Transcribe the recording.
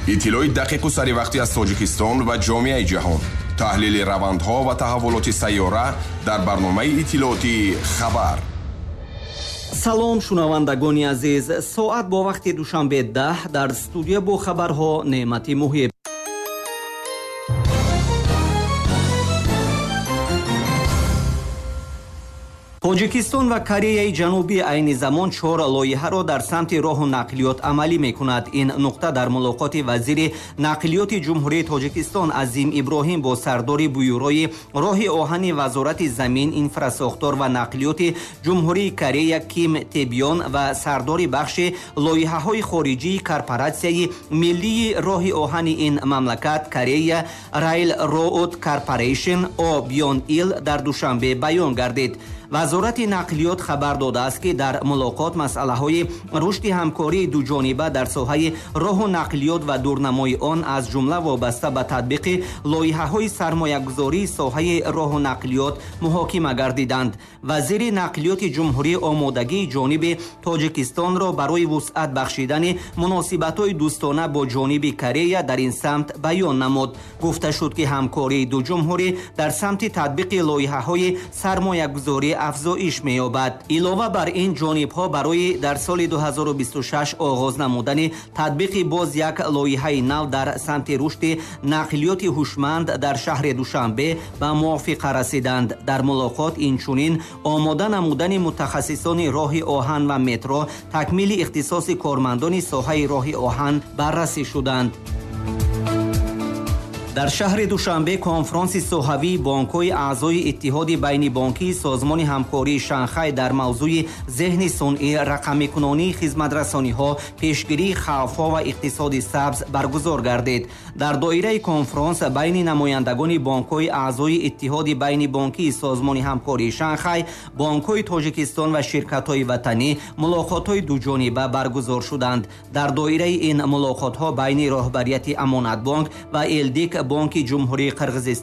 Иттилои дақиқу саривақтӣ аз Тоҷикистон ва ҷомеаи ҷаҳон, таҳлили равандҳо ва таҳаввулоти сайёра дар барномаи иттилоотии «Хабар». Салом, шунавандагони азиз. Соат бо вақти Душанбе 10, дар студия бо хабарҳо Неъмати Муҳиб. Тоҷикистон ва Кореяи Ҷанубӣ айни замон чор лоиҳаро дар самти роҳу нақлиёт амалӣ мекунад. Ин нуқта дар мулоқоти вазири нақлиёти Ҷумҳурии Тоҷикистон Азим Иброҳим бо сардори бюрои роҳи оҳани Вазорати замин, инфрасохтор ва нақлиёти Ҷумҳурии Корея Ким Тебён ва сардори бахши лоиҳаҳои хориҷии корпоратсияи миллии роҳи оҳани ин мамлакат Корея Райл Роуд Корпорейшн О Бьон Ил дар Душанбе баён гардид. Вазорати нақлиёт хабар додааст, ки дар мулоқот масъалаҳои рушди ҳамкории дуҷониба дар соҳаи роҳу нақлиёт ва дурнамои он, аз ҷумла вобаста ба татбиқи лоиҳаҳои сармоягузории соҳаи роҳу нақлиёт муҳокима гардиданд. Вазири нақлиёти ҷумҳурӣ омодагии ҷониби Тоҷикистонро барои вусъат бахшидани муносибатҳои дӯстона бо ҷониби Корея дар ин самт баён намуд. Гуфта шуд, ки ҳамкории ду ҷумҳурӣ дар самти татбиқи лоиҳаҳои сармоягузорӣ афзоиш меёбад. Илова бар ин, ҷонибҳо барои дар соли 2026 оғоз намудани татбиқи боз як лоиҳаи нав дар самти рушди нақлиёти ҳушманд дар шаҳри Душанбе ба мувофиқа расиданд. Дар мулоқот инчунин омода намудани мутахассисони роҳи оҳан ва метро, такмили ихтисоси кормандони соҳаи роҳи оҳан баррасӣ шуданд. Дар шаҳри Душанбе конфронси соҳавии бонкҳои аъзои Иттиҳоди байнибонкии Созмони ҳамкории Шанхай дар мавзӯи зеҳни сунъӣ, рақамикунонии хизматрасониҳо, пешгирии хавфҳо ва иқтисоди сабз баргузор гардид. Дар доираи конфронс байни намояндагони бонкҳои аъзои Иттиҳоди байнибонкии Созмони ҳамкории Шанхай, бонкҳои Тоҷикистон ва ширкатҳои ватанӣ мулоқотҳои дуҷониба баргузор шуданд. Дар доираи ин мулоқотҳо байни роҳбарияти Амонатбонк ва Элдик бонки Ҷумҳурии Қирғизистон